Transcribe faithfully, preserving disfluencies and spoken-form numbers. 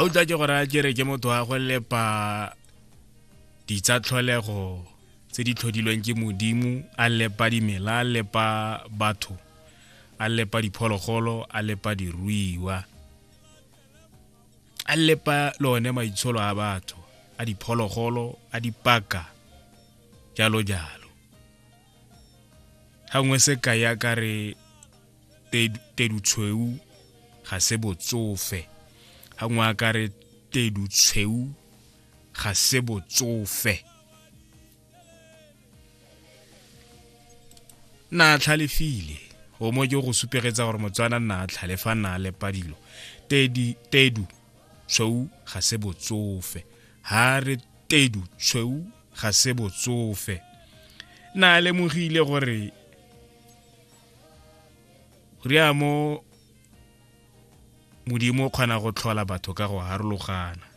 A utlwa ke gore a kere ke motho wa go lepa ditsa tlholego tse di tlhodilweng ke Modimo, a lepa dimela, a lepa batho, a lepa diphologolo, a lepa diruiwa, a lepa le one maitsholo a batho, a diphologolo, a dipaka, jalo jalo. Ga nngwe sekai a ka re tedutshweu ga se botsofe, ga nngwe a ka re tedutshweu ga se botsofe. Nna a tlhalefile, o mo ke go supegetsa gore Motswana nna a tlhalefa, nna a lepa dilo. Tedi tedu tshweu ga se botsofe, ha re tedu tshweu ga se botsofe. Nna a lemogile gore ria mo Modimo o kgona go tlhola batho ka go harologana.